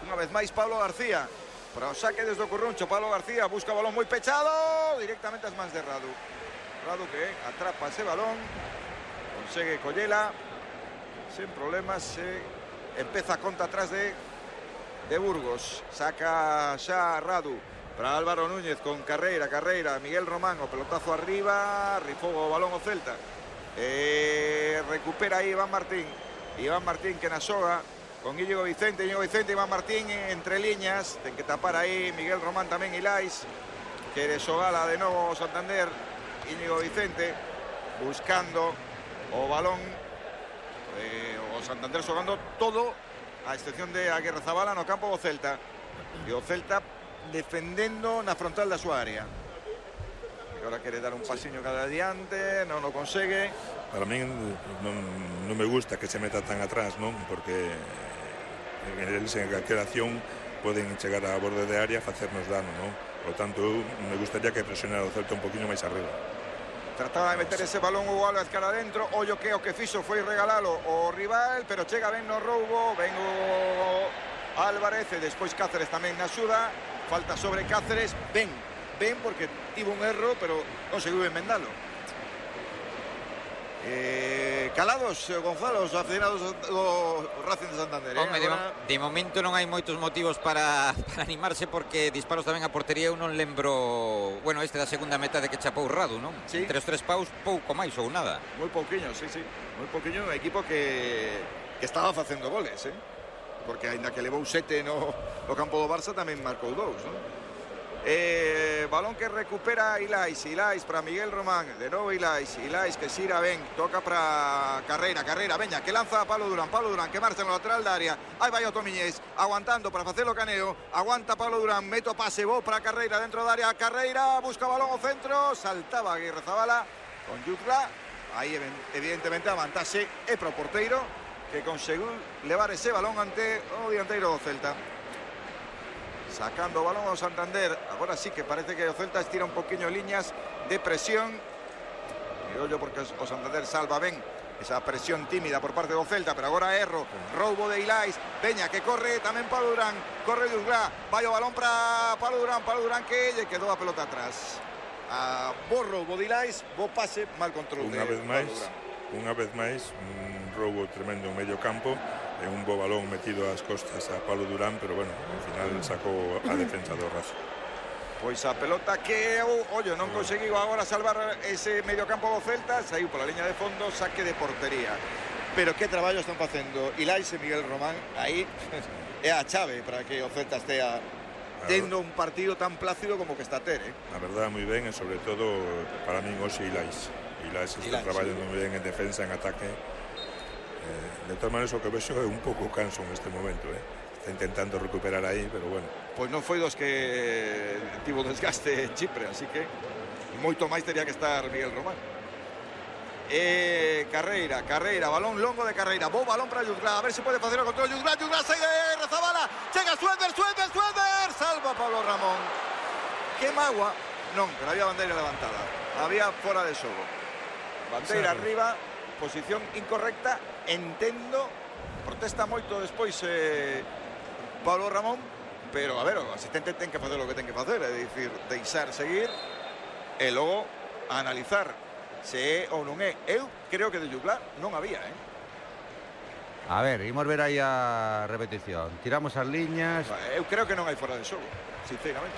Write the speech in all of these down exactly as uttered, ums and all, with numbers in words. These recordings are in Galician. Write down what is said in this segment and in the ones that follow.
Unha vez máis Pablo García. Para o saque desde o Curruncho, Pablo García busca balón moi pechado, directamente ás mans de Radu. Radu que atrapa ese balón, consegue collela, sen problemas, se empeza a conta atrás de, de Burgos. Saca xa Radu para Álvaro Núñez con Carreira, Carreira, Miguel Román, o pelotazo arriba, rifou o balón o Celta. Eh, recupera aí Iván Martín, Iván Martín que na xoga con Íñigo Vicente, Íñigo Vicente, Iván Martín entre liñas, ten que tapar aí Miguel Román tamén Ilais, quere xogala de novo Santander, Íñigo Vicente buscando o balón, eh, o Santander xogando todo a excepción de Aguirre Zabala no campo do Celta, e o Celta defendendo na frontal da súa área. E agora quere dar un pasiño cada adiante, non o consegue. Para mí non, non me gusta que se meta tan atrás, non? Porque en eles en calquera acción poden chegar a borde de área e facernos dano, non? Por tanto, me gustaría que presionara o Celta un poquinho máis arriba. Trataba de meter ese balón Hugo Álvarez cara adentro, ollo que o que fixo foi regalalo o rival, pero chega ben no roubo, ben o Álvarez e despois Cáceres tamén na axuda, falta sobre Cáceres, ben, ben porque tivo un erro, pero conseguiu enmendalo. Eh, calados, Gonzalo, os aficionados do Racing de Santander, eh? Home, Agora... de, de momento non hai moitos motivos para, para animarse, porque disparos tamén a portería. Eu non lembro, bueno, este da segunda metade que chapou Radu, non? Sí. Entre os tres paus, pouco máis ou nada. Moi pouquiño, sí, sí, moi pouquiño, un equipo que, que estaba facendo goles, eh? Porque aínda que levou sete no, no campo do Barça tamén marcou dous, non? Eh, balón que recupera Ilais, Ilais para Miguel Román, de novo Ilais, Ilais que xira ben, toca para Carreira, Carreira, veña, que lanza a Pablo Durán, Pablo Durán que marcha no lateral da área, aí vai o Tomiñés, aguantando para facelo caneo, aguanta Pablo Durán, meto pase, bo para Carreira dentro da área, Carreira, busca balón ao centro, saltaba Aguirre Zabala con Jutla, aí evidentemente a vantaxe é para o porteiro, que conseguiu levar ese balón ante o dianteiro do Celta. Sacando o balón ao Santander, agora sí que parece que o Celta estira un poquinho liñas de presión, e ollo porque o Santander salva ben esa presión tímida por parte do Celta, pero agora erro, roubo de Ilais, Peña que corre, tamén Pablo Durán, corre Duzglá, vai o balón para Pablo Durán, Pablo Durán que lle quedou a pelota atrás. A bo roubo de Ilais, bo pase, mal control de Unha vez máis, Pablo Durán. unha vez máis, un roubo tremendo en medio campo, e un bo balón metido ás costas a Pablo Durán, pero bueno, ao final sacou a defensa do Racing. Pois a pelota que, ollo, non conseguiu agora salvar ese medio campo do Celta, saiu pola liña de fondo, saque de portería. Pero que traballo están facendo Ilais e Miguel Román, aí é a chave para que o Celta estea tendo un partido tan plácido como que está a ter, eh? A verdade, moi ben, e sobre todo para min hoxe Ilais. Ilais está traballando moi ben en defensa, en ataque. De todas maneras, o que vexo é un pouco canso en este momento, eh? Está intentando recuperar aí, pero bueno. Pois non foi dos que tivo desgaste Chipre, así que moito máis teria que estar Miguel Román. Eh, Carreira, Carreira, balón longo de Carreira, bo balón para Jutla, a ver se pode facer o control. Jutla, Jutla, sai de Rezabala, chega Suéter, Suéter, Suéter, salva Pablo Ramón. Que magua, non, pero había bandeira levantada, había fora de xogo. Bandeira sí, arriba, posición incorrecta, entendo, protesta moito despois eh, Pablo Ramón, pero a ver, o asistente ten que facer o que ten que facer, é dicir, deixar seguir e logo analizar se é ou non é. Eu creo que de Jutla non había, eh? A ver, imos ver aí a repetición. Tiramos as liñas. Eu creo que non hai fora de xogo, sinceramente.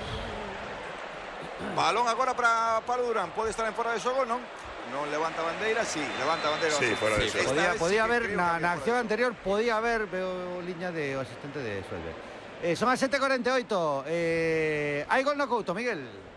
Balón agora para Pablo Durán, pode estar en fora de xogo, non? Non levanta bandeira, sí, levanta bandeira. Sí, fora de xogo. Podía, podía haber, na, na acción anterior, podía haber, veo liña de o asistente de Suelve. Eh, son as sete e cuarenta e oito. Eh, hai gol no Couto, Miguel.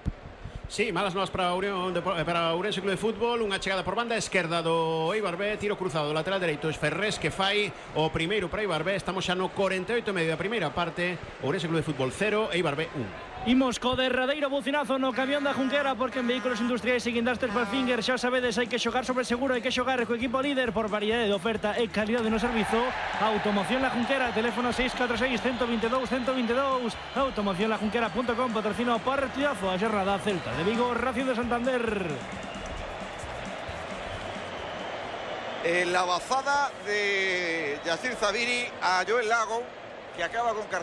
Sí, malas novas para Unión de, para Ourense Club de Fútbol, unha chegada por banda esquerda do Eibar B, tiro cruzado do lateral dereito, es Ferrés que fai o primeiro para Eibar B. Estamos xa no cuarenta e oito e medio da primeira parte. Ourense Club de Fútbol cero, Eibar B un. Imos co derradeiro bucinazo no camión da Junquera, porque en vehículos industriais e guindastres Valfinger xa sabedes, hai que xogar sobre seguro, hai que xogar co equipo líder por variedade de oferta e calidade no servizo. Automoción La Junquera, teléfono seis catro seis, uno dos dos, uno dos dos. automoción la junquera punto com, patrocina o partidazo a xornada Celta de Vigo, Racing de Santander. Eh, la bazada de Yacir Zabiri a Joel Lago, que acaba con cartón